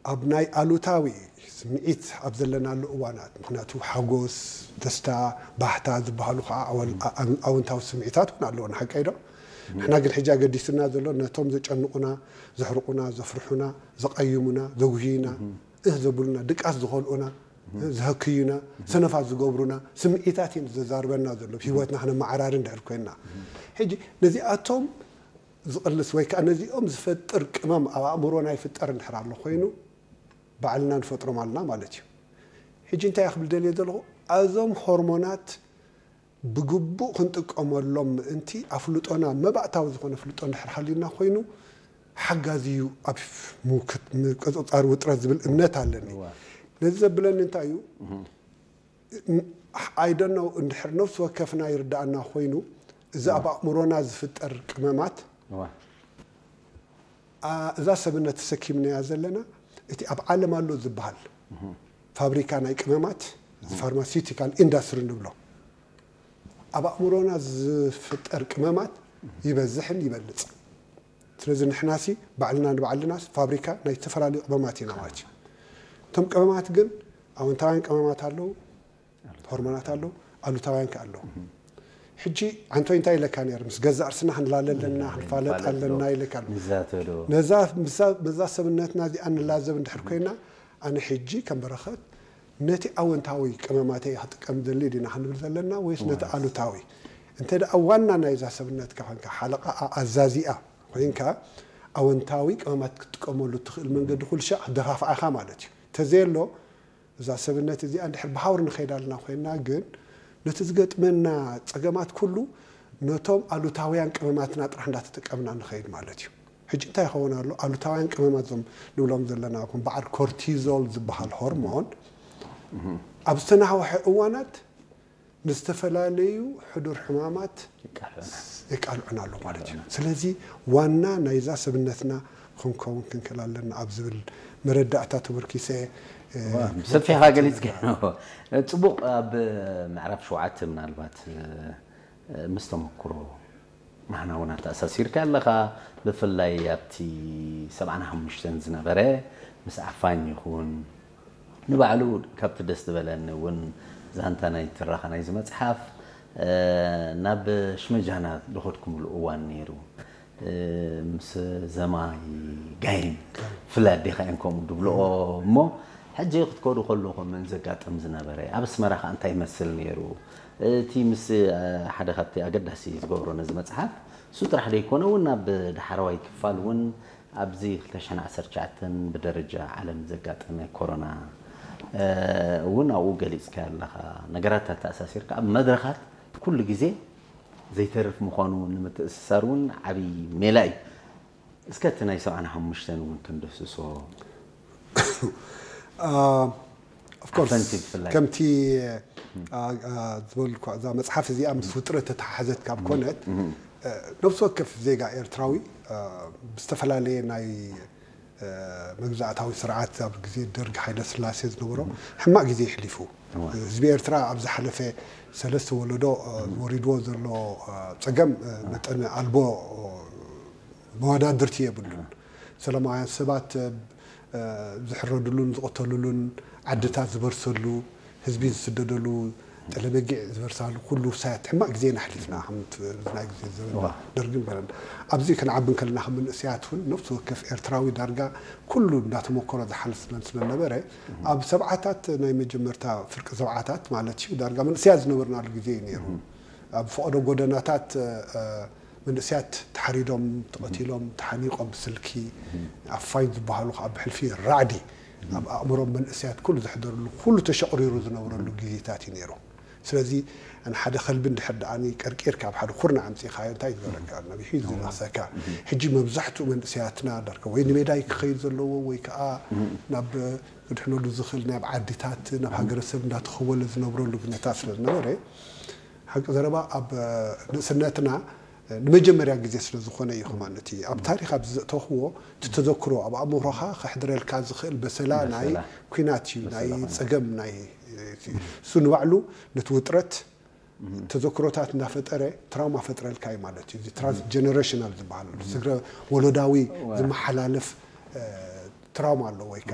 ኣብ ናይ ኣሉታዊ ስምዒት ኣብ ዘለናሉ እዋናት፣ ምክንያቱ ሓጎስ፣ ደስታ፣ ባህታ ዝበሃሉ ከዓ ኣወል-፣ ኣ-፣ ኣም-፣ ኣወንታዊ ስምዒታት እውን ኣለዎ፣ ንሓቀይ ዶ? ንሕና ግን ሕጂ ኣገዲስና ዘሎ ነቶም ዘጨንቑና፣ ዘሕርቑና፣ ዘፍርሑና፣ ዘቐይሙና፣ ዘጉህዩና፣ እህ ዘብሉና፣ ድቃስ ዝኸልኡና፣ ዘህክዩና፣ ሰነፋት ዝገብሩና ስምዒታት እዩ ዘዛርበና ዘሎ፣ ህይወትና ክነመዓራሪ እንድሕር ኮይንና። ሕጂ ነዚኣቶም ዝቕልስ ወይ ከዓ ነዚኦም ዝፈጥር ቅመም ኣብ ኣእምሮና ይፍጠር እንድሕር ኣሎ ኮይኑ፣ ባዕልና ንፈጥሮም ኣለና ማለት እዩ። ሕጂ እንታይ ክብል ደልየ ዘለኹ፣ እዞም ሆርሞናት ብግቡእ ክንጥቀመሎም ምእንቲ ኣፍልጦና መባእታዊ ዝኾነ ፍልጦ እንድሕር ሃልዩና ኮይኑ፣ ሓጋዚ እዩ ኣብ ምውክት-፣ ምቅጽጻር ውጥረት ዝብል እምነት ኣለኒ። ነዚ ዘብለኒ እንታይ እዩ? I don't know እንድሕር ነፍሲ ወከፍና ይርዳእና ኮይኑ፣ እዚ ኣብ ኣእምሮና ዝፍጠር ቅመማት፣ እዋ። ኣ-፣ እዛ ሰብነት ተሰኪምናያ ዘለና፣ እቲ ኣብ ዓለም ኣሎ ዝበሃል ፋብሪካ ናይ ቅመማት፣ ፋርማሲውቲካል ኢንዳስትሪ ንብሎ፣ ኣብ ኣእምሮና ዝፍጠር ቅመማት ይበዝሕን ይበልጽ። ስለዚ ንሕናሲ ባዕልና ንባዕልና ፋብሪካ ናይ ዝተፈላለዩ ቅመማት ኢና ማለት እዩ። እቶም ቅመማት ግን ኣወንታውያን ቅመማት ኣለዉ፣ ሆርሞናት ኣለዉ፣ ኣሉታውያን ከ ኣለዉ። ሕጂ ኣንቶይ እንታይ ኢለካ ነይሩ? ምስ ገዛእ ርስና ክንላለ ኣለና፣ ክንፋለጥ ኣለና ኢለካ ኣሎ። ነዛ፣ ነዛ ሰብነትና እዚኣ ንላዘብ እንድሕር ኮይና፣ ኣነ ሕጂ ከም በረኸት ነቲ ኣወንታዊ ቅመማተይ ክጥቀም ደሊ ዲና ክንብል ዘለና ወይስ ነቲ ኣሉታዊ? እንተ ደኣ ዋና ናይዛ ሰብነትካ ኮንካ፣ ሓለቓኣ፣ ኣዛዚኣ ኮይንካ፣ ኣወንታዊ ቅመማት ክትጥቀመሉ እትኽእል መንገዲ ኩሉ ሻዕ ክደፋፍኣኻ ማለት እዩ። ተዘየሎ፣ እዛ ሰብነት እዚኣ እንድሕር ብሃውር ንኸይድ ኣለና ኮይና፣ ግን ነቲ ዝገጥመና ጸገማት ኩሉ ነቶም ኣሉታውያን ቅመማትና ጥራሕ እንዳተጠቀምና ንኸይድ ማለት እዩ። ሕጂ እንታይ ይኸውን ኣሎ? ኣሉታውያን ቅመማት እዞም ንብሎም ዘለና፣ ከም በዓል ኮርቲዞል ዝበሃል ሆርሞን ኣብ ዝተናውሐ እዋናት ንዝተፈላለዩ ሕዱር ሕማማት የቃልዑና። የቃልዑና ኣሎ ማለት እዩ። ስለዚ ዋና ናይዛ ሰብነትና ክንከውን ክንክእል ኣለና ኣብ ዝብል መረዳእታ ተመርኪሰ፣ እ፣ ዋ፣ ሰፊሕካ ገሊጽካ። ጽቡቕ። ኣብ ምዕራፍ ሸውዓተ ምናልባት፣ እ፣ ምስ ተመክሮ ናህና እውን ኣተኣሳሲርካ ኣለኻ። ብፍላይ ኣብቲ ሰብዓን ሓሙሽተን ዝነበረ ምስ ዓፋኝ ይኹን፣ ንባዕሉ ካብቲ ደስ ዝበለኒ እውን ዛንታ ናይ ትረኻ ናይዚ መጽሓፍ፣ እ፣ ናብ ሽመጃና ዝኸድኩምሉ እዋን ነይሩ። እ፣ ምስ ዘማይ ጋይም ፍላይ ኣዴኻ እየን ከምኡ ድብልኦ እሞ፣ ሕጂ ክትከዱ ከለኹም ምን ዘጋጥም ዝነበረ፣ ኣብ ኣስመራ ኸኣ እንታይ ይመስል ነይሩ? እቲ ምስ፣ እ፣ ሓደ ካብቲ ኣገዳሲ ዝገብሮ ነዚ መጽሓፍ፣ እሱ ጥራሕ ደይኮነ እውን ኣብ ዳሕረዋይ ክፋል እውን ኣብዚ ክልተ ሽሕን ዓሰርተ ትሽዓተን ብደረጃ ዓለም ዘጋጠመ ኮሮና፣ እ፣ እውን ኣብኡ ገሊጽካዮ ኣለኻ። ነገራት ኣተኣሳሲርካ ኣብ መድረኻት ኩሉ ግዜ ዘይተርፍ ምዃኑ ንምትእስሳር እውን ዓብዪ ሜላ እዩ። እስከ እቲ ናይ ሰብዓን ሓሙሽተን እውን ክንድህስሶ። አ፣ of course፣ ኣፈንቲ ብፍላይ። ከምቲ፣ አ፣ አ፣ ዝበልኩ፣ እዛ መጽሓፍ እዚኣ ምስ ውጥረት ተተሓሓዘት ካብ ኮነት፣ እ፣ ነፍሲ ወከፍ ዜጋ ኤርትራዊ፣ እ፣ ብዝተፈላለየ ናይ፣ እ፣ መግዛእታዊ ስርዓት ኣብ ግዜ ደርግ ሃይለ ስላሴ ዝነበሮ ሕማቕ ግዜ የሕሊፉ። እዋ። ህዝቢ ኤርትራ ኣብ ዝሓለፈ ሰለስተ ወለዶ፣ እ፣ ወሪድዎ ዘሎ፣ እ፣ ጸገም፣ እ፣ መጠን ኣልቦ፣ እ፣ መወዳድርቲ የብሉን። ሰላማውያን ሰባት፣ እ፣ ዝሕረድሉን ዝቐተሉሉን፣ ዓድታት ዝበርሰሉ፣ ህዝቢ ዝስደደሉ፣ ጠለመጊዕ ዝበርሳሉ ኩሉ ውሳያት ሕማቕ ግዜ ኢና ኣሕሊፍና፣ ከም እቲ ናይ ግዜ ዘበን እዋ። ደርግን በለን። ኣብዚ ክንዓቢ እንከለና ከም መንእሰያት እውን ነፍሲ ወከፍ ኤርትራዊ ዳርጋ ኩሉ እንዳተመኮሮ ዝሓልፍ ስለ-፣ ስለነበረ፣ ኣብ ሰብዓታት ናይ መጀመርታ ፍርቂ ሰብዓታት ማለት እዩ፣ ዳርጋ መንእሰያት ዝነበርናሉ ግዜ እዩ ነይሩ። ኣብ ፈቐዶ ጎደናታት፣ እ፣ መንእሰያት ተሓሪዶም፣ ተቐቲሎም፣ ተሓኒቖም ብስልኪ፣ ኣፋኝ ዝበሃሉ ከዓ ብሕልፊ ራዕዲ ኣብ ኣእምሮም መንእሰያት ኩሉ ዘሕደርሉ፣ ኩሉ ተሸቕሪሩ ዝነበረሉ ግዜታት እዩ ነይሩ። ስለዚ፣ ኣነ ሓደ ከልቢ እንድሕር ደኣ ቀርቂርካ ኣብ ሓደ ኩርናዕ ኣምጺእኻዮ እንታይ ይግበረካ? ነቢሑ እዩ ዝነኽሰካ። ሕጂ መብዛሕትኡ መንእሰያትና ዳርካ ወይ ንሜዳ እዩ ክኸይድ ዘለዎ ወይ ከዓ ናብ ክድሕነሉ ዝኽእል ናይ ኣብ ዓድታት፣ ናብ ሃገረሰብ እንዳተኸወለ ዝነብረሉ ኩነታት ስለ ዝነበረ፣ ሓቂ ዘረባ ኣብ ንእስነትና ንመጀመርያ ግዜ ስለ ዝኾነ እዩ። ከማን እቲ ኣብ ታሪኽ ኣብ ዘእተኽዎ፣ እቲ ተዘክሮ ኣብ ኣእምሮኻ ከሕድረልካ ዝኽእል በሰላ ናይ በሰላ። ኩናት እዩ፣ በሰላ ናይ ኩናት። ጸገም ናይ፣ እሱ ንባዕሉ ነቲ ውጥረት ተዘክሮታት እንዳፈጠረ ትራውማ ፈጥረልካ እዩ ማለት እዩ። እዚ ትራንስ ጀነሬሽናል ዝበሃል ስግረ ወለዳዊ እዋ። ዝመሓላለፍ፣ እ፣ ትራውማ ኣሎ ወይ ከዓ